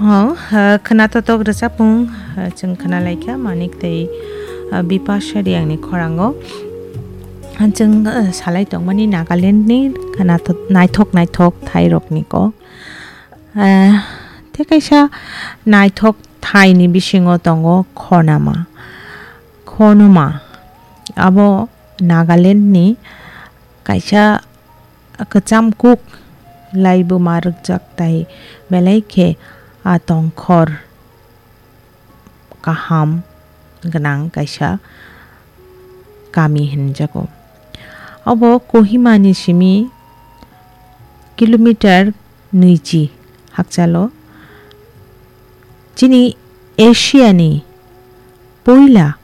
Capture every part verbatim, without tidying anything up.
Ho, ah, khwna totok rwchapmung, ah, chwng khwna laikha Manik tei, ah, Bipasha Riyangni khorango. Ah, chwng, ah, salai tongmani Nagalandni khwna to-, naithok naithok thairokni kok. Ah, tei kaisa naithok thaini bisingo tongo Khonama. Khonoma abo Nagalandni kaisa kwcham kuk laibuma rwkjak tai belai khe a tongkhor kaham gwnang kaisa kami hinjago. Obo Kohimani simi kilometer nwichi hakchalo chini Asiani puila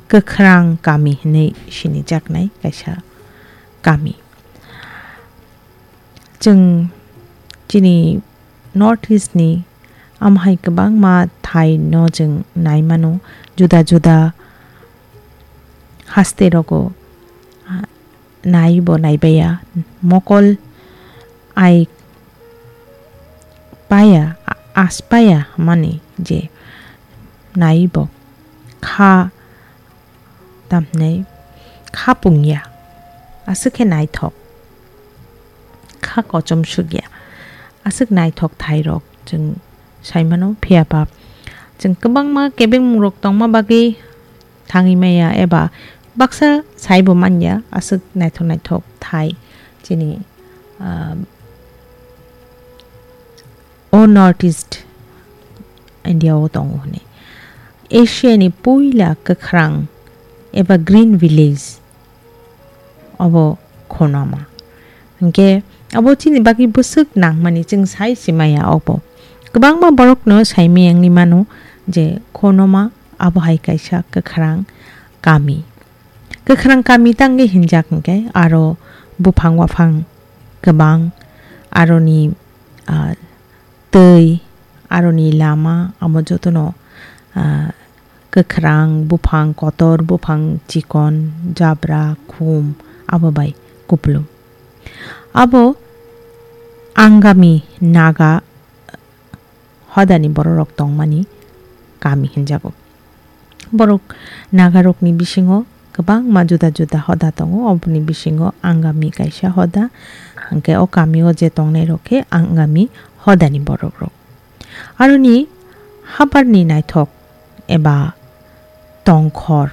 kwkhrang kami hinwi sinijaknai kaisa kami. Chwng chini North East ni amhai kwbangma thai no chwng nai mano, juda juda haste rogo, ah, nai bo nai baiya, mokol ai paya, a-, as paya mani je nai bo kha tamhinai kha pungya, aswk khe naithok, kha kochom sukya, aswk naithok thairok chwng sai mano. Phiya ba chwng kwbangma kebengmungrok tongma bagwi thangwi maya eba baksa saibo manya, aswk naithok naithok thai chini, ah, o North East India o tongo hwnwi. Asia ni puila kwkhrang eba Green Village obo Khonoma. Hinkhe abo chini bagwi bwswk nangmani chwng sai se maya obo. Kwbangma borokno sai maya wngwi mano je Khonoma abo hai kaisa kwkhrang kami. Kwkhrang kami tangwi hinjak hinkhe aro buphang waphang kwbang, aroni, ah, twi, aroni lama, amo jotono, ah, kwkhrang, buphang kotor, buphang chikon, jabra, khum, abo bai kupulung. Abo Angami Naga hodani bororok tongmani kami hinjago. Borok Nagarokni bisingo kwbangma juda juda hoda tongo, oboni bisingo Angami kaisa hoda, hinkhe o kamio je tongnairok khe Angami hodani borokrok. Aroni habarni naithok eba tongkhor,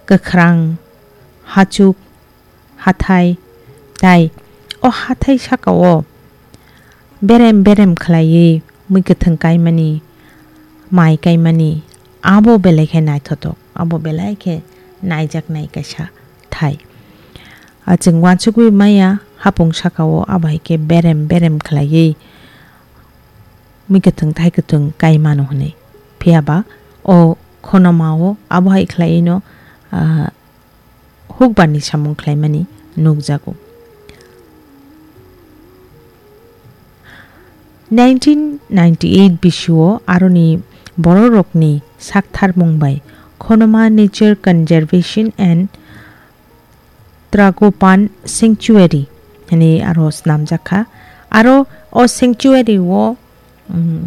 kwkhrang, hachuk, hathai, tai o hathai sakao berem berem khlaiwi mui kwthwng kaimani, mai kaimani, abo belai khe naithotok, abo belai khe naijaknai kaisa thai. A chwng uansukwi maya hapung sakao abo hai khe berem berem khlaiwi mui kwthwng thai kwthwng kai mano hwnwi. Phiya ba o Khonoma o abo hai khlaiwino, ah, hukbarni samung khlaimani nukjago. Nineteen ninety-eight bisio aroni bororokni saktharmung bai Khonoma Nature Conservation and Tragopan Sanctuary hwnwi aro snamjak kha. Aro o sanctuary o, um,